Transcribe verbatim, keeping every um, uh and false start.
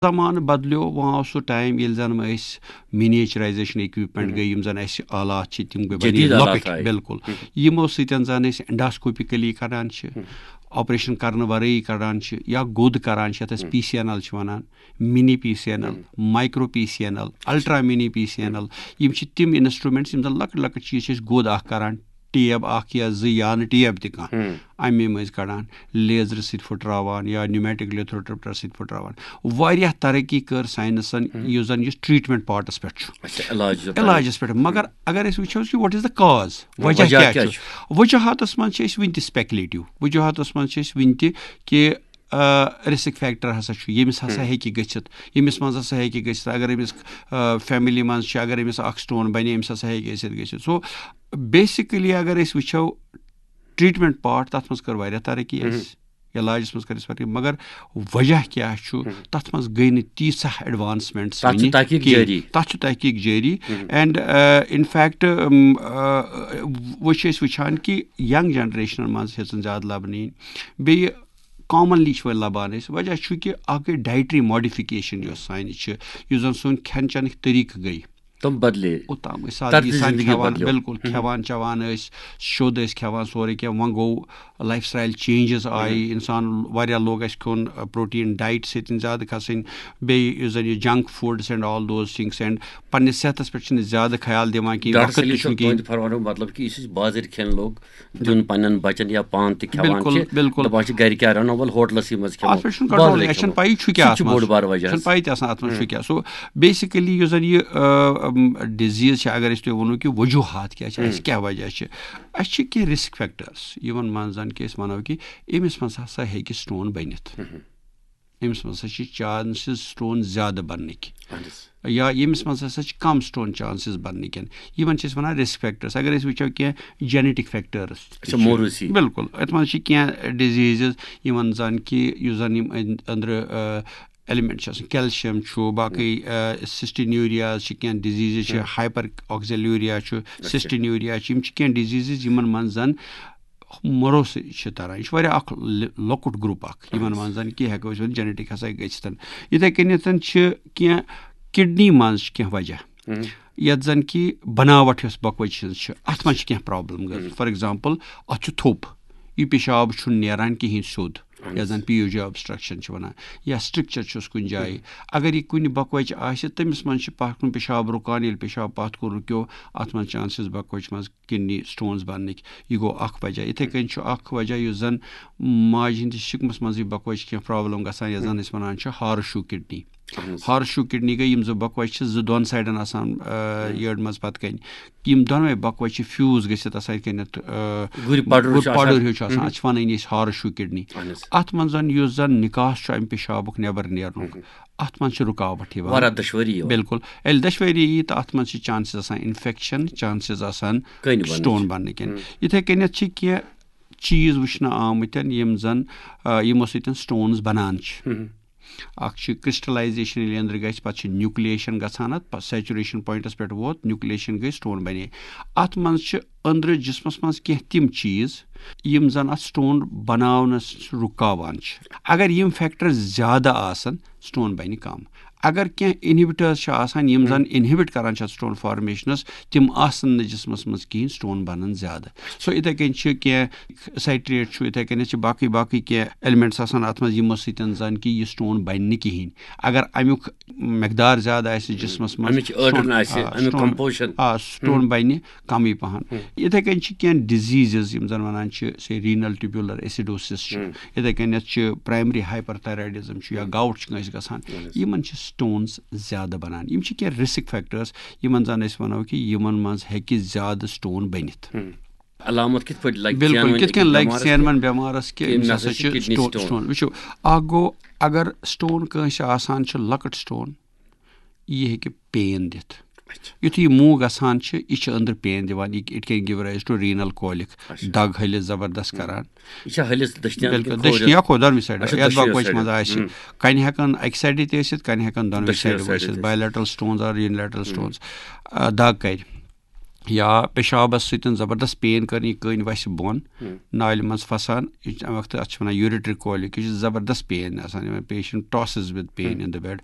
زمانہٕ بدلیو، وۄنۍ آو سُہ ٹایم ییٚلہِ زن أسۍ مینیچرائزیشن اکوپمنٹ گٔے، یِم زن اَسہِ آلات چھِ، تِم گٔے بنے جدید آلات لۄکٕٹۍ۔ آیہِ۔ بالکل۔ یِمو سۭتۍ زن أسۍ اینڈاسکوپیکلی کڑان چھِ، آپریشن کرنہٕ ورٲیی کڑان چھِ، یا گوٚد کران چھِ، یتھ أسۍ پی سی این ایل چھِ ونان، mini P C N L, micro P C N L, ultra mini P C N L. یِم چھِ تِم انسٹرومنٹس، یِم زن لۄکٕٹۍ لۄکٕٹۍ چیٖز چھِ أسۍ گوٚد اکھ کران، ٹیب اکھ یا زٕ یا نہٕ ٹیب تہِ کانٛہہ، امی مٔنٛزۍ کڑان، لیزرٕ سۭتۍ پھٕٹراوان یا نیومیٹک لیتھروٹریپٹر سۭتۍ پھٕٹراوان۔ واریاہ ترقی کٔر ساینسن، یُس زن یُس ٹریٹمنٹ پارٹس پٮ۪ٹھ چھُ، اچھا، علاج چھُ۔ علاجس پٮ۪ٹھ۔ مگر اگر أسۍ وٕچھو کہِ what is the cause، وجہ وجہ کیٛاہ کیٛاہ چھُ؟ وجوہاتس منٛز چھِ أسۍ وٕنہِ تہِ سپیکلیٹو، وجوہاتس منٛز چھِ أسۍ وٕنہِ تہِ کہِ رسک فیکٹر ہسا چھُ، ییٚمِس ہسا ہیٚکہِ گٔژھِتھ، ییٚمِس منٛز ہسا ہیٚکہِ گٔژھِتھ۔ اگر أمِس فیملی منٛز چھِ، اگر أمِس اکھ سٹون بنے، أمِس ہسا ہیٚکہِ أسۍ گٔژھِتھ۔ سو بیسکلی اگر أسۍ وٕچھو ٹریٹمنٹ پارٹ، تتھ منٛز کٔر واریاہ ترقی اَسہِ، علاجس منٛز کٔر اَسہِ ترقی، مگر وجہ کیٛاہ چھُ؟ تتھ منٛز گٔے نہٕ تیٖژاہ ایڈوانسمنٹ۔ تتھ چھُ تحقیق جٲری۔ تتھ چھُ تحقیق جٲری۔ اینڈ ان فیکٹ وۄنۍ چھِ أسۍ وٕچھان کہِ ینگ جنریشنن منٛز ہیٚژٕن زیادٕ لبنہٕ یِنۍ۔ بیٚیہِ کامنلی چھِ وۄنۍ لبان أسۍ۔ وجہ چھُ کہِ اکھ گٔے ڈایٹری ماڈیفکیشن یۄس سانہِ چھِ، یُس زن سون کھٮ۪ن چٮ۪نٕکۍ طریٖقہٕ گٔے۔ تِم بدلے۔ اوٚتام ٲسۍ سادٕ طرزِ سان زندگی کھٮ۪وان، بدلیو۔ بالکل کھٮ۪وان چٮ۪وان ٲسۍ، شوٚد ٲسۍ کھٮ۪وان، سورُے کینٛہہ۔ وۄنۍ گوٚو لایف سٹایل چینجز آیہِ، انسان واریاہ لوگ اَسہِ کھیوٚن پروٹین ڈایٹ سۭتۍ زیادٕ کھسٕنۍ، بیٚیہِ یُس زن یہِ junk foods and all those things and پننِس صحتس پٮ۪ٹھ چھِنہٕ زیادٕ خیال دِوان کینٛہہ، ڈاکٹر وقت تہِ سلیم چھُنہٕ صٲب، کینٛہہ۔ تُہُنٛدِ فرمانُک مطلب کہِ یُس أسۍ بازٕرۍ کھٮ۪ن لوگ دیُن پننٮ۪ن بچن یا پانہٕ تہِ کھٮ۪وان بالکل، چھِ، بالکل۔ دپان چھِ گرِ کیٛاہ رنو، ول ہوٹلس منٛز کھٮ۪مو، اتھ پٮ۪ٹھ چھُنہٕ بازرٕے کنٹرول، اَسہِ چھُنہٕ کھٮ۪مو۔ پَیی چھُ سُہ کیٛاہ تہِ چھُ اتھ بوٚڑ منٛز۔ بار وجہ چھُنہٕ اتھ پَیی تہِ آسان اتھ منٛز چھُ کیٛاہ۔ سو بیسکلی یُس زن یہِ ڈِزیٖز چھِ، اگر أسۍ تۄہہِ ووٚنوُ کہِ وجوہات کیٛاہ چھِ، اَسہِ کیٛاہ وجہ چھِ، اَسہِ چھِ کینٛہہ رسک فیکٹرس، یِمن منٛز زن کہِ أسۍ ونو کہِ أمِس منٛز ہسا ہیٚکہِ سٹون بٔنِتھ۔ أمِس منٛز ہسا چھِ چانسز سٹون زیادٕ بننٕکۍ، یا ییٚمِس منٛز ہسا چھِ کم سٹون چانسز بننٕکٮ۪ن، یِمن چھِ أسۍ ونان رسک فیکٹرس۔ اگر أسۍ وٕچھو کینٛہہ جینیٹک فیکٹرس، اچھا، موروثی۔ بالکل، اتھ منٛز چھِ کینٛہہ ڈِزیٖزز یِمن زن کہِ یُس زن یِم أنٛدۍ أنٛدرٕ ایلیمنٹ چھِ آسان، کیلشیم چھُ، باقٕے سسٹینیوریاز چھِ، کینٛہہ ڈِزیٖزز چھِ، ہایپر آکسیلیوریا چھُ، سسٹینیوریا چھِ، یِم چھِ کینٛہہ ڈِزیٖزز یِمن منٛز زن موروثی چھِ تران۔ یہِ چھُ واریاہ اکھ لِ- لۄکُٹ گروپ اکھ، یِمن منٛز زن کہِ ہٮ۪کو أسۍ ؤنِتھ جینیٹک ہسا گٔژھتن۔ یِتھے کٔنٮ۪تھ چھِ کینٛہہ کڈنی منٛز چھِ کینٛہہ وجہ، یتھ زن کہِ بناوٹ یۄس بۄکہٕ وَچہِ ہٕنٛز چھِ، اتھ منٛز چھِ کینٛہہ پرابلم گژھان۔ فار ایگزامپل، اتھ چھُ تھوٚپ، یہِ پیشاب چھُنہٕ نیران کِہینۍ سیوٚد، یتھ زن پی یو جی آبسٹرکشن چھِ ونان، یا سٹرکچر چھُس کُنہِ جایہِ۔ اگر یہِ کُنہِ بۄکہٕ وَچہِ آسہِ، تٔمِس منٛز چھِ پکُن پیشاب رُکان، ییٚلہِ پیشاب پتھ کُن رُکیو، اتھ منٛز چانسز بۄکہٕ وَچہِ منٛز کڈنی سٹونز بننٕکۍ۔ یہِ گوٚو اکھ وجہ۔ یِتھے کٔنۍ چھُ اکھ وجہ یُس زن ماجہِ ہٕنٛدِس شِکمس منٛز یہِ بۄکہٕ وَچہِ کینٛہہ پرابلم گژھان، یتھ زن أسۍ ونان چھِ horseshoe kidney. Horseshoe kidney گٔے یِم زٕ بۄکہٕ وَچہِ چھِ زٕ دۄن سایڈن آسان، آ، یٔڈ منٛز پتہٕ کنہِ۔ یِم دۄنوے بۄکہٕ وَچہِ چھِ فیوز گٔژھِتھ آسان یِتھ کٔنٮ۪تھ، آ، گُرۍ پڑُر چھُ آسان۔ پڑُر ہیوٗ چھُ آسان، اتھ چھِ ونٲنی أسۍ ہارس شو کڈنی۔ اتھ منٛز زن یُس زن نکاس چھُ امہِ پیشابُک نٮ۪بر نیرنُک، اتھ منٛز چھِ رُکاوٹ یِوان۔ واریاہ دۄشوٲری یِوان۔ بالکل۔ ییٚلہِ دۄشوٲری یی تہٕ اتھ منٛز چھِ چانسز آسان انفیکشن، چانسز آسان کٔنۍ بننٕچ۔ سٹون بننٕکٮ۪ن۔ یِتھے کٔنٮ۪تھ چھِ کینٛہہ چیٖز وٕچھنہٕ آمٕتٮ۪ن یِم زن، آ، یِمو سۭتۍ سٹونز بنان چھِ۔ اکھ چھُ کرسٹلائزیشن، ییٚلہِ أنٛدرٕ گژھِ، پتہٕ چھِ نیوکلیشن گژھان، اتھ پتہٕ سیچوریشن پوینٹس پٮ۪ٹھ ووت، نیوکلیشن گٔے، سٹون بنے۔ اتھ منٛز چھِ أنٛدرٕ جسمس منٛز کینٛہہ تِم چیٖز یِم زن اتھ سٹون بناونس رُکاوان چھِ۔ اگر یِم فیکٹر زیادٕ آسن، سٹون بنہِ کم۔ اگر کینٛہہ انہبٹرز چھِ آسان یِم زن انہبٹ کران چھِ اتھ سٹون فارمیشنس، تِم آسن نہٕ جسمس منٛز کِہینۍ، سٹون بنن زیادٕ۔ سو یِتھے کٔنۍ چھِ کینٛہہ سائٹریٹ چھُ، یِتھے کٔنۍ چھِ باقٕے باقٕے کینٛہہ ایلیمنٹس آسان اتھ منٛز، یِمو سۭتۍ زن کہِ یہِ سٹون بنہِ نہٕ کِہینۍ۔ اگر امیُک مقدار زیادٕ آسہِ جسمس منٛز، اَمِچ عٲرَن سٹون- آسہِ، آ، اَمیُک سٹون- composition۔ آ، سٹون بنہِ کمٕے پہن۔ یِتھے کٔنۍ چھِ کینٛہہ ڈِزیٖزز یِم زن ونان چھِ، سے رینل ٹیوبولر ایسیڈوسس چھُ، یِتھے کٔنٮ۪تھ چھِ پرائمری ہائپر تھائرائڈزم چھُ یا گاؤٹ چھُ کٲنٛسہِ گژھان، یِمن چھِ سٹونز زیادٕ بنان۔ یِم چھِ کینٛہہ رسک فیکٹرز یِمن زن أسۍ ونو کہِ یِمن منٛز ہیٚکہِ زیادٕ سٹون بٔنِتھ۔ علامت کِتھ پٲٹھۍ لگہِ بالکل، ژینوٕنۍ کِتھ کٔنۍ أکِس لگہِ بٮ۪مارَس ژینوَن کہِ بٮ۪مارس کہِ أمِس أمِس ہسا ہسا چھِ چھِ کڈنی سٹو- سٹون؟ سٹون؟ وٕچھِو، اکھ گوٚو، اگر سٹون کٲنٛسہِ آسان چھِ، لۄکٕٹ سٹون، یہِ ہیٚکہِ پین دِتھ۔ یُتھُے یہِ موٗ گژھان چھِ، یہِ چھِ أنٛدرٕ پین دِوان، یہِ it can give rise to renal colic، دگ ہلِس زبردست کران۔ یہِ چھا ہلِس دٔچھنہِ بالکل، کِنہٕ کھوورِ؟ دٔچھنہِ یا کھوٚر، دۄنوٕے سایڈ۔ اچھا، یتھ دۄشوٕے بۄکہٕ وَچہِ سایڈن۔ منٛز آسہِ، کنہِ ہٮ۪کن اکہِ سایڈٕ تہِ ٲسِتھ، کنہِ ہٮ۪کن دۄنوٕے دۄشوٕے سایڈٕ سایڈٕ ٲسِتھ، تہِ۔ بایلیٹرل سٹونز اور یونیلیٹرل سٹونز۔ آ، دگ کرِ۔ یا پیشابس سۭتۍ زبردست پین کرٕنۍ، یہِ کٔنۍ وسہِ بۄن، نالہِ منٛز پھسان، یہِ چھُ امہِ وقتہٕ، اتھ چھِ ونان urinary colic، یہِ چھُ زبردست پین آسان، یِمن patient tosses with pain in the bed۔